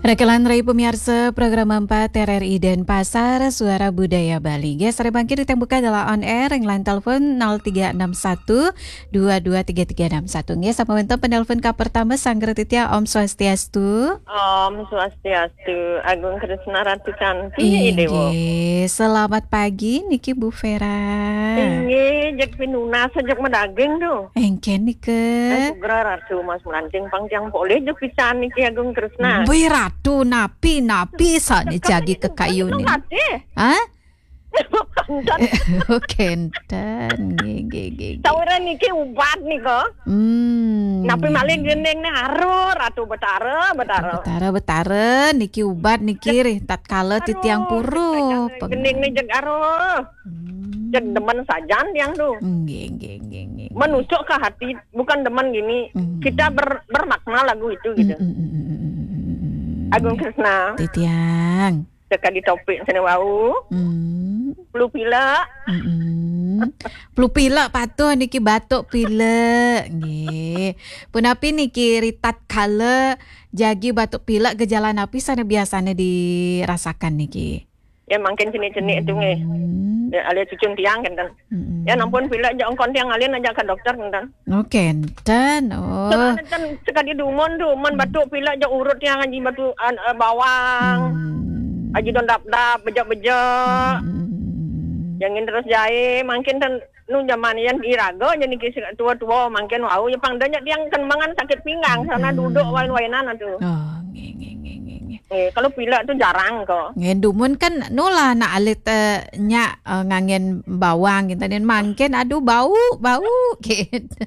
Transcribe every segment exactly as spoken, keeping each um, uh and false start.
Nah, kelantaran pemirsa program empat R R I Denpasar, Suara Budaya Bali. Nggih, sareng mangkin titiang buka dalam on air, ring line telepon nol tiga enam satu dua dua tiga tiga enam satu. Nggih, sampun wénten penelpon ka pertama, sanggra titiang, Om Swastiastu. Om Swastiastu, Agung Kresna Ratu Cantik, Déwa. Inggih, selamat pagi niki Bu Vera. Inggih, jeg pinunas, jeg madaging to. Éngkén nika. Eh, sugra Ratu Mas Melanting pang tiang polih jeg pisan niki Agung Kresna. Wih, Ratu, napi, napi sané jagi kekayunin? Ratu. Hah? Kénten. Kénten. Nggih, nggih, nggih, nggih. Sawiréh niki ubat nika. Hmm. Napi malih gending né, aruh, Ratu Betara, Betara. Betara, Betara, niki ubat niki rih tatkala titiang puru. Aduh, gending né jeg aruh. Hmm. Jeg demen sajan tiang to. Nggih, nggih, nggih, nggih. Menusuk ke hati, bukan demen gini. Hmm. Kita ber-, bermakna lagu itu gitu. Hmm, hmm, hmm, hmm, hmm, hmm, hmm. Agung Kresna. Titiang. Sakadi topik sané wau. Hmm. Flu pilek. Hmm. Flu pilek patuh niki batuk pilek. Nggih. Punapi niki ritatkala jagi batuk pilek, gejala napi sané biasané dirasakan niki? Ya, mangkin cenik-cenik to nggih. Hmm. Ya, alih cucun tiang kénten. Hmm. Ya, nampun pilek jak engkon tiang ngalih ajak ka dokter kénten. Oh, kénten. Oh. Soalnya kan sekadi dumun to, mun batuk pilek jak urut tiang aji batuk, an-, eh, bawang. Hmm. Aji don dap-dap, bejek-bejek. Hmm. Jangin terus jaé, mangkin ten nu jaman yan iraga ja niki tua-tua mangkin wau ya pang da nya tiang kemangan sakit pinggang, sana duduk wain-wainan atuh. Oh, nggih, nggih, nggih, nggih, nggih. Eh, kalau pilek to jarang kok. Nggih, dumun kan nu lah nak alit, eh, nyak, eh, nganggén bawang gitu. Dan mangkin, aduh, bau, bau, gitu.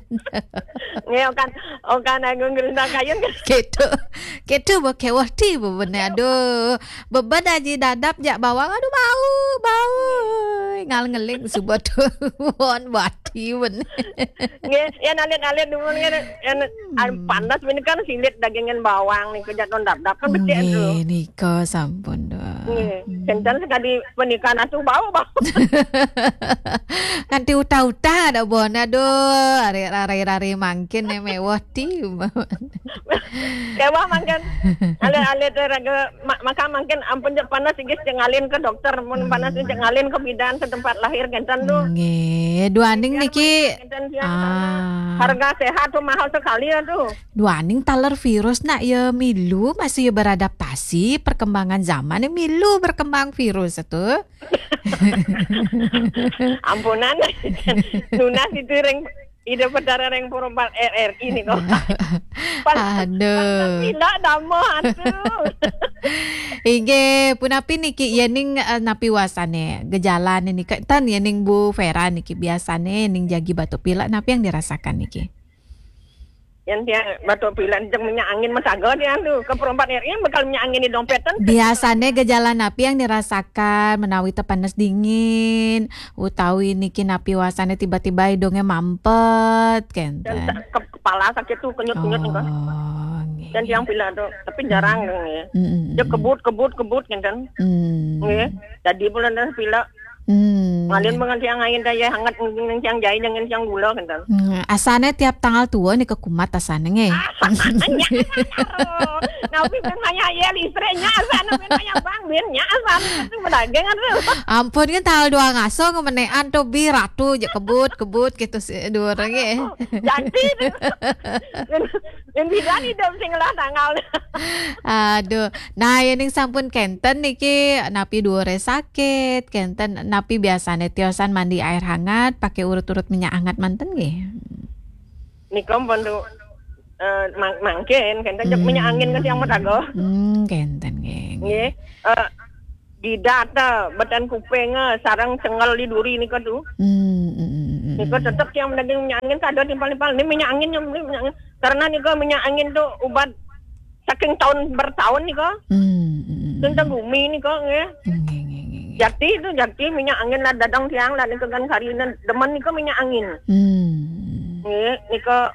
Nggih, okan, okan Agung Kresna kayun kan. Gitu. Gitu, bau kéweh ti, bebene, aduh. Beben aji dadap jak bawang, aduh, bau, bau. Ngal ngeling suba to. Won bati, ben. Nggih, yan alit-alit dumun nggih, yan, an-, panas ini kan silit dagingin bawang nih, kejat non dap-dap kan becik to. Nggih, nika sampun, Dok. Nggih, kénten sekadi pernikahan atuh bau, bau. Nganti uta-uta ada bon, aduh, ari rari-rari mangkin né méweh ti. Kéweh mangkin. Alit-alit raga ma-, maka mangkin ampun jak panas inggih jak ngalih ka dokter, mun panas inggih jak ngalih ka bidan setempat lahir kénten to. Nggih, duaning niki. Kénten tiang sana. Ah. Harga sehat to mahal sekali ya to. Duaning taler virus nak ya milu masih ya beradaptasi perkembangan zaman ya milu berkembang virus to. Ampunan. Nunas itu ring Ida Betara ring Perempat R R I nika. Pan-, aduh. Pantes pilek dama atuh. Inggih, punapi niki ya ning, eh, napi wastané gejalané nika ten ya ning Bu Vera niki biasané ning jagi batuk pilek napi yang dirasakan niki? Yan tiang batuk pilek jeg minyak angin mataga tiang to. Ka Perempat R R I bakal minyak angin di dompétan. Biasané gejala napi yang dirasakan menawi té panas dingin, utawi niki napi wastané tiba-tiba idungé mampet, kénten. Dan sa-, ke-, kepala sakit to, kenyut-kenyut nika. Oh, nggih. Dan tiang pilek to, tapi jarang nggih. Mm, mm, mm. Dia kebut, kebut, kebut kénten. Mm. Nggih. Jadi bulan dah pilek. Hmm. Ngalih mangkin tiang ain dah ya hangat mangkin tiang jaé jangan tiang gula kénten. Hmm, asané tiap tanggal tua nika kumat asané nggih. Napi pun maya ya listrik nya asané pun maya bang bin nya asané itu madaging atuh. Ampun kan tanggal dua ngaso ngemenean to bi ratu ja kebut-kebut gitu si dua orang nggih. Janji to. Yang bidan hidup sing ngelah tanggal. Aduh. Nah, ya ning sampun kénten niki napi duuré sakit, kénten napi biasané tiosan mandi air hangat, pakai urut-urut minyak hangat manten nggih? Nika pun to, eh, mang-, mangkin kénten jeg minyak angin ka tiang mataga. Hmm, kénten nggih. Nggih. Eh, jidat, beten kuping, eh, sareng cengel di duri nika to. Hmm, hmm, hmm, hmm, hmm. Nika tetep tiang madaging minyak angin kada timpal-timpal. Ini minyak angin, ini minyak angin. Karena nika minyak angin to ubat saking tahun bertahun nika. Hmm, hmm, hmm. Tentang bumi nika nggih. Nggih, nggih, nggih, nggih. Jakti to, jakti minyak angin lah dadang tiang lah nika kan karina demen nika minyak angin. Hmm. Nggih, nika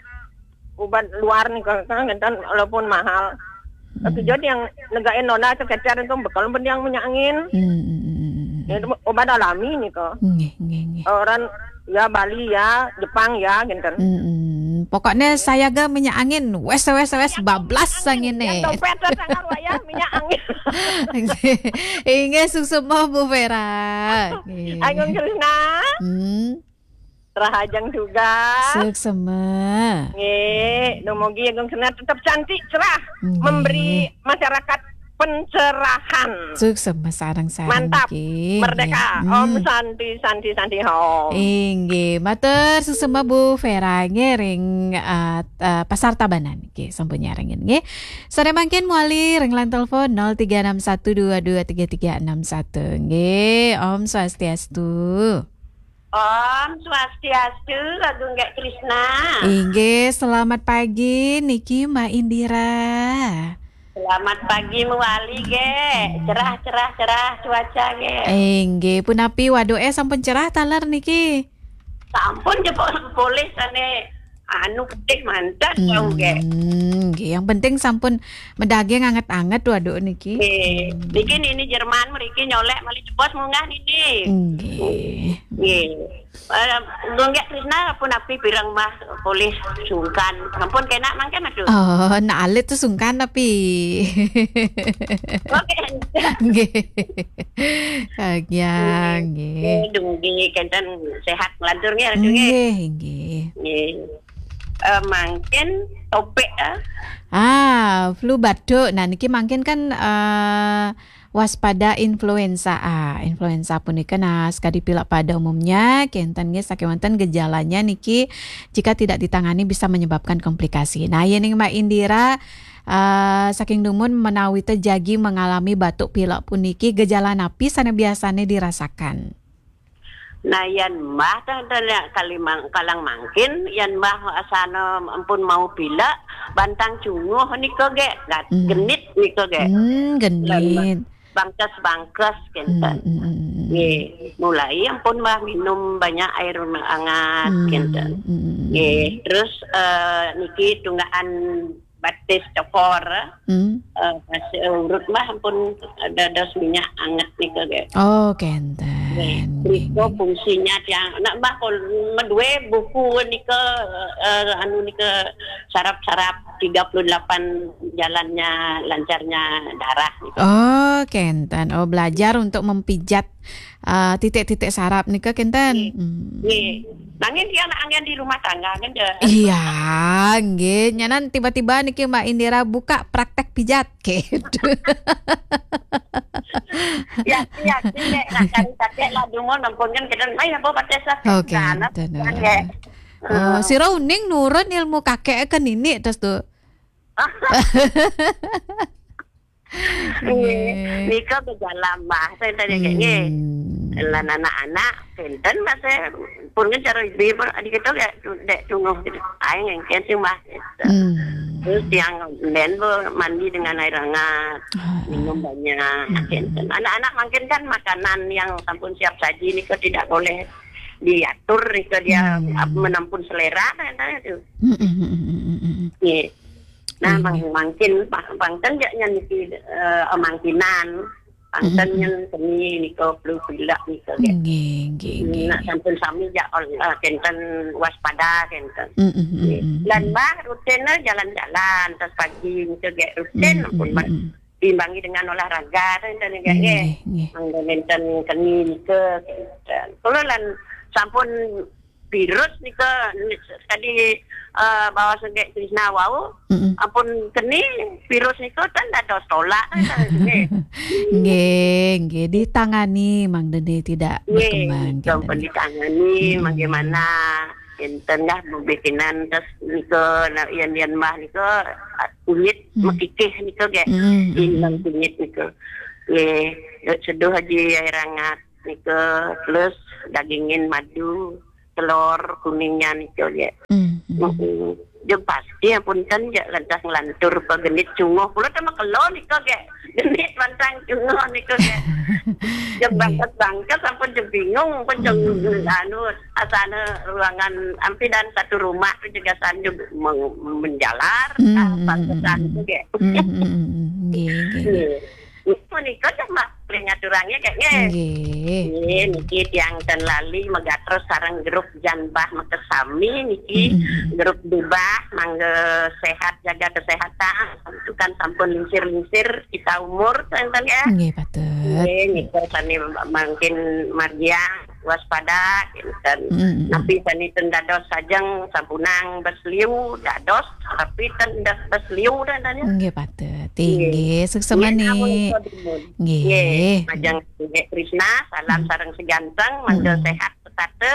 ubat luar nika kan kénten walaupun mahal. Tapi jadi yang negain nona sekecer itu bekal pun yang minyak angin. Hmm, hmm, hmm, hmm, hmm. Ya, itu obat alami nika. Nggih, nggih, nggih. Orang ya Bali ya, Jepang ya kénten. Hmm, hmm. Pokoknya saya ga minyak angin, wes, wes, wes, bablas angin nih. Yang dompet sangar wayah minyak angin. Inggih, suksma Bu Vera. Nggih. Agung Krisna. Hmm. Rahajeng juga. Suksma. Nggih, dumugi Agung Krisna tetap cantik, cerah, memberi masyarakat pencerahan. Suksma sareng-sareng. Mantap. Niki. Merdeka. Nggih. Om Santi, Santi, Santi, Om. Inggih, matur suksma Bu Vera nggih ring, eh, eh, Pasar Tabanan nggih, sampun nyarengin nggih. Sore mangkin mawali ring line telepon nol tiga enam satu dua dua tiga tiga enam satu nggih. Om Swastiastu. Om Swastiastu, Agung Gek Krisna. Inggih, selamat pagi niki Mbak Indira. Selamat pagi mawali, Gek. Cerah, cerah, cerah cuaca, Gek. Inggih, punapi waduke sampun cerah taler niki? Sampun jebul polih sane anu getih mantes wau, Gek. Hmm, nggih, yang penting sampun medaging anget-anget waduk niki. Nggih. Niki nini Jerman mriki nyolek malih jebos munggah nini. Nggih. Nggih. Eh, Gung Gek Krisna punapi pireng Mbah polih sungkan. Sampun kenak mangke, Mas? Oh, nak alit tuh sungkan tapi. Oke. Nggih. Agian, nggih. Nggih, dumugi kenten sehat nglantur nggih, Ratu nggih. Nggih, nggih. Nggih. Eh, mangkin topik, eh. Ah, flu batuk. Nah, niki mangkin kan, eh, waspada influenza A. Influenza punika nah, sakadi pilek pada umumnya, kenten nggih sakewanten gejalanya niki jika tidak ditangani bisa menyebabkan komplikasi. Nah, yening Mbak Indira, eh, saking dumun menawi te jagi mengalami batuk pilek puniki, gejala napi sane biasane dirasakan? Nah, yan Mbah teh, teh, ya, kalimang-, kalang mangkin, yan Mbah asana ampun mau pilek, bantang cunguh nika, Gek, gat-, Hmm. genit nika, Gek. Hmm, genit. Bangkes-bangkes, kenten. Hmm, hmm, hmm, hmm. Nggih, mulai ampun Mbah minum banyak air hangat, Hmm, kenten. Hmm, hmm, hmm. Nggih, terus, eh, niki tunggakan batis cokor, Hmm. eh, pas, eh, urut Mbah ampun dados minyak anget nika, Gek. Oh, kenten. Nggih. Nggih, nika nggih. Fungsinya tiang, nak Mbah kul ngeduwe buku nika, eh, anu nika sarap-sarap tiga puluh delapan jalannya lancarnya darah nika. Oh, kenten. Oh, belajar untuk mempijat, eh, titik-titik sarap nika, kenten. Nggih. Hmm. Nggih. Nanging tiang nak anggen di rumah tangga, kan, Dek? Iya, nggih. Nyanan tiba-tiba niki Mbak Indira buka praktek pijat, gitu. Ya, ya, nek nak cari kakek lah, dungo nampun kan kita, "Mai, apa pakai sakit?" Oh, kenten. Kan, ya. Oh, sira uning nurun ilmu kakek ke nini terus tuh. Nggih. Nggih. Nika gejala Mbah, saya tadi nggih. Hmm. Lan anak-anak, kenten Mbah, saya pun kan cara ibu, adik kita kayak dek tunggu gitu. Aing yang kenten Mbah. Gitu. Hmm. Terus yang ben bu mandi dengan air hangat, Ah. minum banyak, Hmm. kenten. Anak-anak mungkin kan makanan yang sampun siap saji nika tidak boleh diatur nika dia Hmm. ap-, menampun selera kan itu. Hmm, hmm, hmm, hmm, hmm, hmm. Nggih. Nah, Nggih, mang-, nggih. mangkin, pa-, pangten jak nyan niki, eh, mangkinan. Pangten Mm-mm. nyan keni nika flu pilek nika, Gek. Nggih, nggih, nggih, Nak nggih. sampun sami jak ol-, eh, kenten waspada, kenten. Mm-mm, Nggih. mm-mm, Lan mm. Mbah rutin, eh, jalan-jalan, terus pagi nika, Gek, rutin, Mm-mm, ampun, Mbah. mm-mm. Diimbangi dengan olahraga, kenten, Gek, Nggih, nggih. nggih, nggih. Mangda nenten keni nika, kenten. Kula lan sampun virus nika, tadi, eh, bahwa Gek Krisna wau, Mm-mm. ampun keni virus nika kan dados tolak, kan, nggih. Nggih, nggih, ditangani, mangda tidak Nggih, berkembang, sampun kenten. ditangani, Mm-mm. bagaimana, enten dah, bikinan, terus nika, nah, yen, yen Mbah nika, kulit Mm. mekikih nika, Gek. Mm-mm, mm-mm. Ilang kulit nika. Nggih, seduh aja air hangat nika, terus dagingin madu. Telur kuningnya nika, Gek. Hmm, hmm. Mm-mm. Jeng pasti ampun kan, Gek, lantas nglantur pegenit cunguh. Kula teh makelo nika, Gek. Genit pantang cunguh nika, Gek. Jeng Nggih. bangket-bangket sampun jeng bingung, pun jeng Hmm. anu, asana ruangan ampi dan satu rumah jeng gasan jeng meng-, menjalar, Hmm, ah, hmm, bangketan hmm, hmm. nika, Gek. Hmm, hmm, hmm, hmm. Nggih, nggih, nggih. Nggih. Menika cuma ngaturang ya, Kak, nggih. Nggih. Nggih, niki tiang ten lali megatos sareng grup Janbah Makasami niki, grup Dubah, mangga sehat, jaga kesehatan, itu kan sampun lingsir-lingsir kita umur, ten ya. Nggih, patut. Nggih, nika sane mangkin margiang waspada, kinten. Napi sane ten dados sajeng sampunang bes liu, dados, tapi ten dados bes liu, ten ya. Nggih, patut. Nggih. Inggih, suksma. Nggih, namun niki. Nggih. Nggih, majeng Nggih, Krisna, salam sareng seganteng, mangga sehat setata.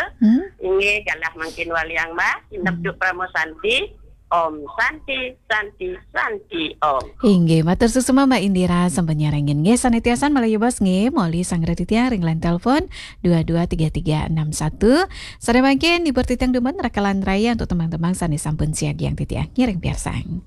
Inggih, galah mangkin waliang Mbah, sinep juk Parama Santi. Om Santi, Santi, Santi, Om. Inggih, matur suksma Mbak Indira sampun nyarengin. Nggih, sane tiasan malih bos nggih, moli sanggra titiang ring line telepon dua dua tiga tiga enam satu. Sare mangkin hibur titiang dumun rakalan raya untuk tembang-tembang sane sampun siagiang titiang ngiring piarsang.